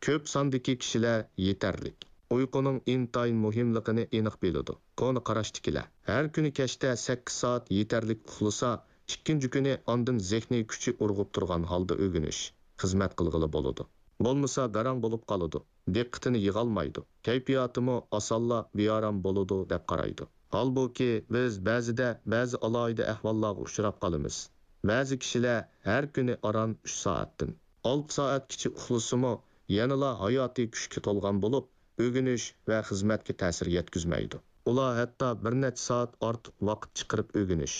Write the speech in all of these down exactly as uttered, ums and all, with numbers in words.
كۆپ ساندىكى كىشىلەر يېتەرلىك ئۇيقۇنىڭ ئىنتايىن مۇھىملىقىنى ئېنىق بىلىدۇ. كونا قاراشتىكىلەر ھەر كۈنى كەچتە سەككىز سائەت يېتەرلىك ئۇخلىسا، ئىككىنچى كۈنى ئاندىن زېھنىي كۈچى ئۇرغۇپ تۇرغان ھالدا ئۆگىنىش، خىزمەت قىلغىلى بولىدۇ. بولمىسا گاراڭ بولۇپ قالىدۇ، دىققىتىنى يىغالمايدۇ، كەيپىياتىمۇ ئاسانلا بىئارام بولىدۇ دەپ قارايدۇ. ھالبۇكى، بىز بەزىدە بەزى ئالاھىدە ئەھۋاللارغا ئۇچراپ قالىمىز. بەزى كىشىلەر ھەر كۈنى ئاران ئۈچ سائەتتىن ئالتە سائەتكىچە ئۇخلىسىمۇ، يەنىلا ھاياتىي كۈچكە تولغان بولۇپ، ئۆگىنىش ۋە خىزمەتكە تەسىر يەتكۈزمەيدۇ. ئۇلار ھەتتا بىر نەچچە سائەت ئارتۇق ۋاقىت چىقىرىپ ئۆگىنىش،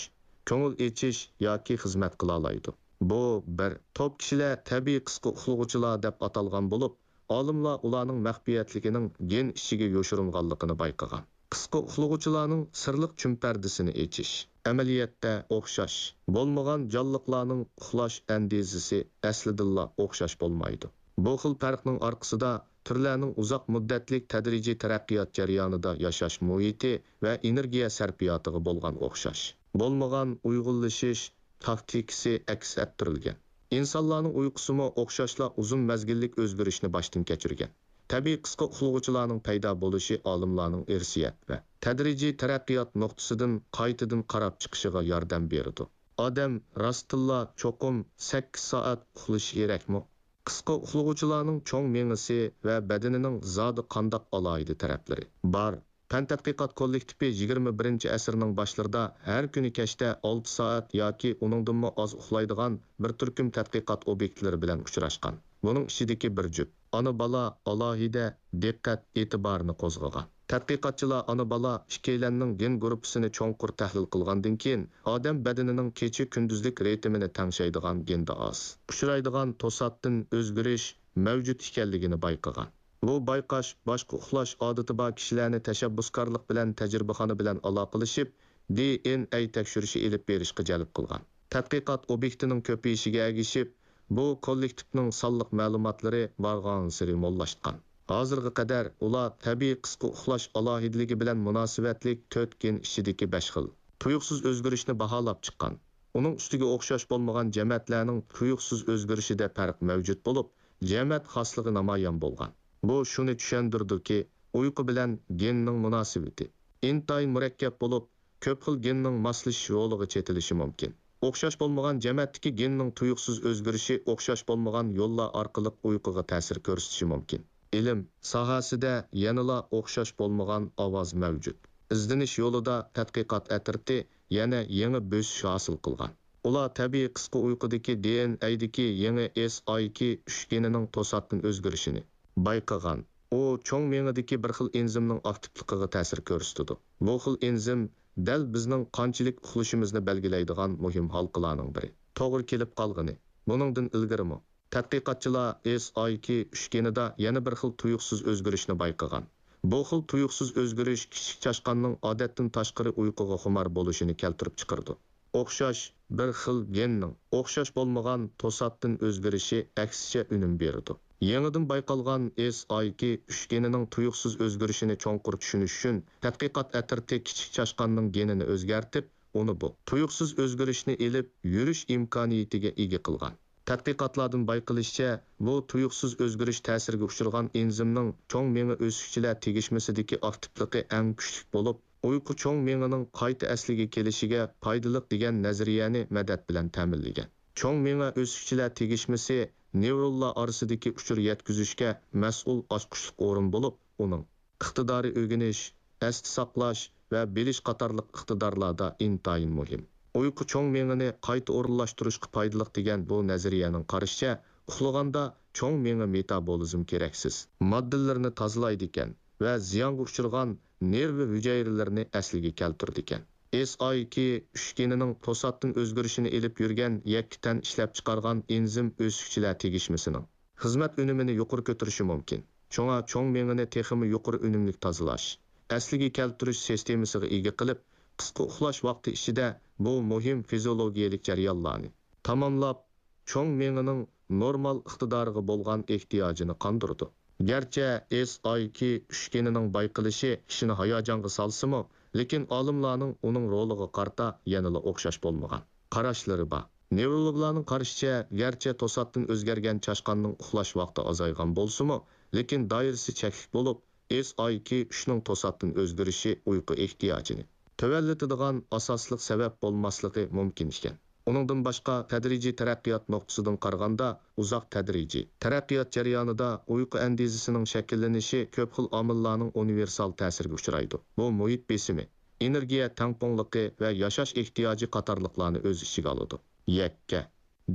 كۆڭۈل ئېچىش ياكى خىزمەت قىلالايدۇ. بۇ بىر توپ كىشىلەر تەبىئىي قىسقا ئۇخلىغۇچىلار دەپ ئاتالغان بولۇپ، ئالىملار ئۇلارنىڭ مەخپىيەتلىكىنىڭ گېن ئىچىگە يوشۇرۇنغانلىقىنى بايقىغان. قىسقا ئۇخلىغۇچىلارنىڭ سىرلىق چۈمپەردىسىنى ئېچىش. ئەمەلىيەتتە ئوخشاش بولمىغان جانلىقلارنىڭ ئۇخلاش ئەندىزىسى ئەسلىدىنلا ئوخشاش بولمايدۇ. بۇ خىل پەرقنىڭ ئارقىسىدا تۈرلەرنىڭ ئۇزاق مۇددەتلىك تەدرىجىي تەرەققىيات جەريانىدا ياشاش مۇھىتى ۋە ئېنېرگىيە سەرپىياتىغا بولغان ئوخشاش بولمىغان ئۇيغۇنلىشىش تاكتىكىسى ئەكس ئەتتۈرۈلگەن. ئىنسانلارنىڭ ئۇيقۇسىمۇ ئوخشاشلا ئۇزۇن مەزگىللىك ئۆزگىرىشنى باشتىن كەچۈرگەن. تەبىئىي قىسقا ئۇخلىغۇچىلارنىڭ پەيدا بولۇشى ئالىملارنىڭ ئىرسىيەت ۋە تەدرىجىي تەرەققىيات نۇقتىسىدىن قايتىدىن قاراپ چىقىشىغا ياردەم بېرىدۇ. ئادەم راستتىنلا چوقۇم سەككىز سائەت ئۇخلىشى كېرەكمۇ؟ قىسقا ئۇخلىغۇچىلارنىڭ چوڭ مېڭىسى ۋە بەدىنىنىڭ زادى قانداق ئالاھىدە تەرەپلىرى بار؟ پەن تەتقىقات كوللېكتىپى يىگىرمە بىرىنچى ئەسىرنىڭ باشلىرىدا ھەر كۈنى كەچتە ئالتە سائەت ياكى ئۇنىڭدىنمۇ ئاز ئۇخلايدىغان بىر تۈركۈم تەتقىقات ئوبيېكتلىرى بىلەن ئۇچراشقان. بۇنىڭ ئىچىدىكى بىر جۈپ ئانا-بالا ئالاھىدە دىققەت ئېتىبارىنى قوزغىغان. تەتقىقاتچىلار ئانا-بالا ئىككىيلەننىڭ گېن گۇرۇپپىسىنى چوڭقۇر تەھلىل قىلغاندىن كېيىن، ئادەم بەدىنىنىڭ كېچە-كۈندۈزلۈك رىتىمىنى تەڭشەيدىغان گېندا ئاز ئۇچرايدىغان توساتتىن ئۆزگىرىش مەۋجۇت ئىكەنلىكىنى بايقىغان. بۇ بايقاش باشقا ئۇخلاش ئادىتى بار كىشىلەرنى تەشەببۇسكارلىق بىلەن تەجرىبىخانا بىلەن ئالاقىلىشىپ، دى ئېن ئەي تەكشۈرۈشى ئېلىپ بېرىشقا جەلپ قىلغان. تەتقىقات ئوبيېكتىنىڭ كۆپىيىشىگە ئەگىشىپ، بۇ كوللېكتىپنىڭ سانلىق مەلۇماتلىرى بارغانسېرى موللاشقان. ھازىرغا قەدەر ئۇلار تەبىئىي قىسقا ئۇخلاش ئالاھىدىلىكى بىلەن مۇناسىۋەتلىك تۆت گېن ئىچىدىكى بەش خىل تۇيۇقسىز ئۆزگىرىشنى باھالاپ چىققان. ئۇنىڭ ئۈستىگە ئوخشاش بولمىغان جەمەتلەرنىڭ تۇيۇقسىز ئۆزگىرىشىدە پەرق مەۋجۇت بولۇپ، جەمەت خاسلىقى نامايان بولغان. بۇ شۇنى چۈشەندۈرىدۇكى، ئۇيقۇ بىلەن گېننىڭ مۇناسىۋىتى ئىنتايىن مۇرەككەپ بولۇپ، كۆپ خىل گېننىڭ ماسلىشىش رولىغا چېتىلىشى مۇمكىن. ئوخشاش بولمىغان جەمەتتىكى گېننىڭ تۇيۇقسىز ئۆزگىرىشى ئوخشاش بولمىغان يوللار ئارقىلىق ئۇيقۇغا تەسىر كۆرسىتىشى مۇمكىن. ئىلىم ساھەسىدە يەنىلا ئوخشاش بولمىغان ئاۋاز مەۋجۇت. ئىزدىنىش يولىدا تەتقىقات ئەترىتى يەنە يېڭى بۆسۈش ھاسىل قىلغان. ئۇلار تەبىئىي قىسقا ئۇيقۇدىكى دى ئېن ئەيدىكى يېڭى ئېس ئاي كې ئۈچ گېنىنىڭ توساتتىن ئۆزگىرىشىنى بايقىغان. ئۇ چوڭ مېڭىدىكى بىر خىل ئېنزىمنىڭ ئاكتىپلىقىغا تەسىر كۆرسىتىدۇ. بۇ خىل ئېنزىم دەل بىزنىڭ قانچىلىك ئۇخلىشىمىزنى بەلگىلەيدىغان مۇھىم ھالقىلارنىڭ بىرى. توغرا كېلىپ قالغىنى. بۇنىڭدىن ئىلگىرىمۇ تەتقىقاتچىلار ئېس ئاي كې ئۈچ گېنىدا يەنە بىر خىل تۇيۇقسىز ئۆزگىرىشنى بايقىغان. بۇ خىل تۇيۇقسىز ئۆزگىرىش كىچىك چاشقاننىڭ ئادەتتىن تاشقىرى ئۇيقۇغا خۇمار بولۇشىنى كەلتۈرۈپ چىقىرىدۇ. ئوخشاش بىر خىل گېننىڭ ئوخشاش بولمىغان توساتتىن ئۆزگىرىشى ئەكسىچە ئۈنۈم بېرىدۇ. يېڭىدىن بايقالغان ئېس ئاي كې ئۈچ گېنىنىڭ تۇيۇقسىز ئۆزگىرىشىنى چوڭقۇر چۈشىنىش ئۈچۈن، تەتقىقات ئەترىتى كىچىك چاشقاننىڭ گېنىنى ئۆزگەرتىپ، ئۇنى بۇ تۇيۇقسىز ئۆزگىرىشنى ئېلىپ يۈرۈش ئىمكانىيىتىگە ئىگە قىلغان. تەتقىقاتلاردىن بايقىلىشىچە، بۇ تۇيۇقسىز ئۆزگىرىش تەسىرىگە ئۇچرىغان ئېنزىمنىڭ چوڭ مېڭە ئۆسۈكچىلەر تېگىشمىسىدىكى ئاكتىپلىقى ئەڭ كۈچلۈك بولۇپ، ئۇيقۇ چوڭ مېڭىنىڭ قايتا ئەسلىگە كېلىشىگە پايدىلىق دېگەن نەزەرىيەنى مەدەت بىلەن تەمىنلىگەن. چوڭ مېڭە ئۆسۈكچىلەر تېگىشمىسى نېۋرونلار ئارىسىدىكى ئۇچۇر يەتكۈزۈشكە مەسئۇل ئاچقۇچلۇق ئورۇن بولۇپ، ئۇنىڭ ئىقتىدارى ئۆگىنىش، ئەستە ساقلاش ۋە بىلىش قاتارلىق ئىقتىدارلاردا ئىنتايىن مۇھىم. ئۇيقۇ چوڭ مېڭىنى قايتا ئورۇنلاشتۇرۇشقا پايدىلىق دېگەن بۇ نەزەرىيەنىڭ قارىشىچە، ئۇخلىغاندا چوڭ مېڭە مېتابولىزم كېرەكسىز ماددىلىرىنى تازىلايدىكەن ۋە زىيانغا ئۇچرىغان نېرۋا ھۈجەيرىلىرىنى ئەسلىگە كەلتۈرىدىكەن. ئېس ئاي كې ئۈچ گېنىنىڭ توساتتىن ئۆزگىرىشىنى ئېلىپ يۈرگەن يەككە تەن ئىشلەپچىقارغان ئېنزىم ئۆسۈكچىلەر تېگىشمىسىنىڭ خىزمەت ئۈنۈمىنى يۇقىرى كۆتۈرۈشى مۇمكىن. شۇڭا چوڭ مېڭىنى تېخىمۇ يۇقىرى ئۈنۈملۈك تازىلاش، ئەسلىگە كەلتۈرۈش سىستېمىسىغا ئىگە قىلىپ، قىسقا ئۇخلاش ۋاقتى ئىچىدە بۇ مۇھىم فىزىئولوگىيەلىك جەريانلارنى تاماملاپ، چوڭ مېڭىنىڭ نورمال ئىقتىدارىغا بولغان ئېھتىياجىنى قاندۇرىدۇ. گەرچە ئېس ئاي كې ئۈچ گېنىنىڭ بايقىلىشى كىشىنى ھاياجانغا سالسىمۇ، لېكىن ئالىملارنىڭ ئۇنىڭ رولىغا قارىتا يەنىلا ئوخشاش بولمىغان قاراشلىرى بار. نېۋرولوگلارنىڭ قارىشىچە، گەرچە توساتتىن ئۆزگەرگەن چاشقاننىڭ ئۇخلاش ۋاقتى ئازايغان بولسىمۇ، لېكىن دائىرىسى چەكلىك بولۇپ، ئېس ئاي كيۇ ئۈچنىڭ توساتتىن ئۆزگىرىشى ئۇيقۇ ئېھتىياجىنى تۆۋەنلىتىدىغان ئاساسلىق سەۋەب بولماسلىقى مۇمكىن ئىكەن. ئۇنىڭدىن باشقا، تەدرىجىي تەرەققىيات نۇقتىسىدىن قارىغاندا، ئۇزاق تەدرىجىي تەرەققىيات جەريانىدا ئۇيقۇ ئەندىزىسىنىڭ شەكىللىنىشى كۆپ خىل ئامىللارنىڭ ئۇنىۋېرسال تەسىرىگە ئۇچرايدۇ. بۇ مۇھىت بېسىمى، ئېنېرگىيە تەڭپۇڭلۇقى ۋە ياشاش ئېھتىياجى قاتارلىقلارنى ئۆز ئىچىگە ئالىدۇ. يەككە.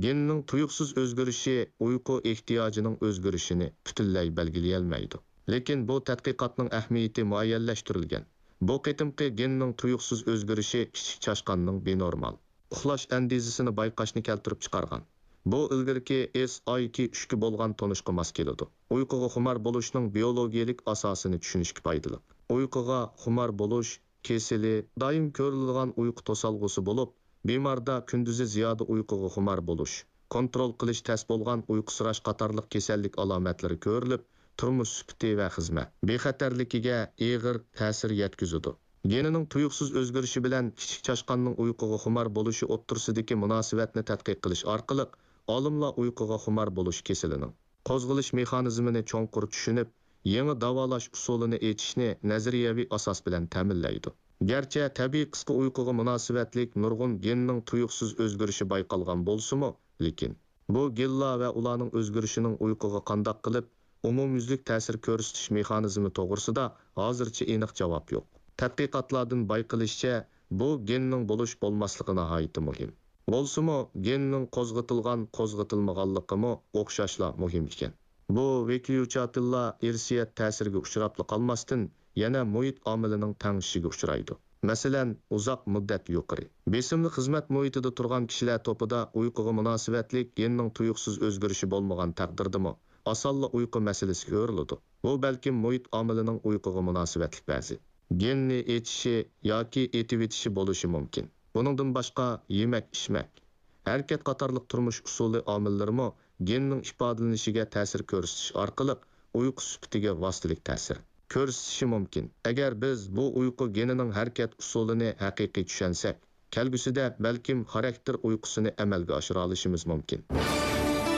گېننىڭ تۇيۇقسىز ئۆزگىرىشى ئۇيقۇ ئېھتىياجىنىڭ ئۆزگىرىشىنى پۈتۈنلەي بەلگىلىيەلمەيدۇ. لېكىن بۇ تەتقىقاتنىڭ ئەھمىيىتى مۇئەييەنلەشتۈرۈلگەن. بۇ قېتىمقى گېننىڭ تۇيۇقسىز ئۆزگىرىشى كىچىك چاشقاننىڭ بىنورمال ئۇخلاش ئەندىزىسىنى بايقاشنى كەلتۈرۈپ چىقارغان. بۇ ئىلگىرىكى ئېس ئاي كيۇ ئۈچكە بولغان تونۇشقا ماس كېلىدۇ. ئۇيقۇغا خۇمار بولۇشنىڭ بىيولوگىيەلىك ئاساسىنى چۈشىنىشكە پايدىلىق. ئۇيقۇغا خۇمار بولۇش كېسىلى دائىم كۆرۈلىدىغان ئۇيقۇ توسالغۇسى بولۇپ، بىماردا كۈندۈزى زىيادە ئۇيقۇغا خۇمار بولۇش، كونترول قىلىش تەس بولغان ئۇيقۇسىراش قاتارلىق كېسەللىك ئالامەتلىرى كۆرۈلۈپ، تۇرمۇش سۈپىتى ۋە خىزمەت بىخەتەرلىكىگە ئېغىر تەسىر يەتكۈزىدۇ. گېنىنىڭ تۇيۇقسىز ئۆزگىرىشى بىلەن كىچىك چاشقاننىڭ ئۇيقۇغا خۇمار بولۇشى ئوتتۇرىسىدىكى مۇناسىۋەتنى تەتقىق قىلىش ئارقىلىق، ئالىملار ئۇيقۇغا خۇمار بولۇش كېسىلىنىڭ قوزغىلىش مېخانىزمىنى چوڭقۇر چۈشىنىپ، يېڭى داۋالاش ئۇسۇلىنى ئېچىشنى نەزەرىيەۋى ئاساس بىلەن تەمىنلەيدۇ. گەرچە تەبىئىي قىسقا ئۇيقۇغا مۇناسىۋەتلىك نۇرغۇن گېننىڭ تۇيۇقسىز ئۆزگىرىشى بايقالغان بولسىمۇ، لېكىن بۇ گېنلار ۋە ئۇلارنىڭ ئۆزگىرىشىنىڭ ئۇيقۇغا قانداق قىلىپ ئومۇميۈزلۈك تەسىر كۆرسىتىش مېخانىزمى توغرىسىدا ھازىرچە ئېنىق جاۋاب يوق. تەتقىقاتلاردىن بايقىلىشىچە، بۇ گېننىڭ بولۇش بولماسلىقى ناھايىتى مۇھىم. بولسىمۇ، گېننىڭ قوزغىتىلغان، قوزغىتىلمىغانلىقىمۇ ئوخشاشلا مۇھىم ئىكەن. بۇ ۋېكيۇچاتىللار ئىرسىيەت تەسىرىگە ئۇچراپلا قالماستىن، يەنە مۇھىت ئامىلىنىڭ تەڭشىشىگە ئۇچرايدۇ. مەسىلەن، ئۇزاق مۇددەت يۇقىرى بېسىملىق خىزمەت مۇھىتىدا تۇرغان كىشىلەر توپىدا ئۇيقۇغا مۇناسىۋەتلىك گېننىڭ تۇيۇقسىز ئۆزگىرىشى بولمىغان تەقدىردىمۇ، ئاسانلا ئۇيقۇ مەسىلىسى كۆرۈلىدۇ. بۇ بەلكىم مۇھىت ئامىلىنىڭ ئۇيقۇغا مۇناسىۋەتلىك بەزى گېننى ئېچىشى ياكى ئېتىۋېتىشى بولۇشى مۇمكىن. بۇنىڭدىن باشقا، يېمەك-ئىچمەك، ھەرىكەت قاتارلىق تۇرمۇش ئۇسۇلى ئامىللىرىمۇ گېننىڭ ئىپادىلىنىشىگە تەسىر كۆرسىتىش ئارقىلىق ئۇيقۇ سۈپىتىگە ۋاسىتىلىك تەسىر كۆرسىتىشى مۇمكىن. ئەگەر بىز بۇ ئۇيقۇ گېنىنىڭ ھەرىكەت ئۇسۇلىنى ھەقىقىي چۈشەنسەك، كەلگۈسىدە بەلكىم خاراكتېر ئۇيقۇسىنى ئەمەلگە ئاشۇرالىشىمىز مۇمكىن.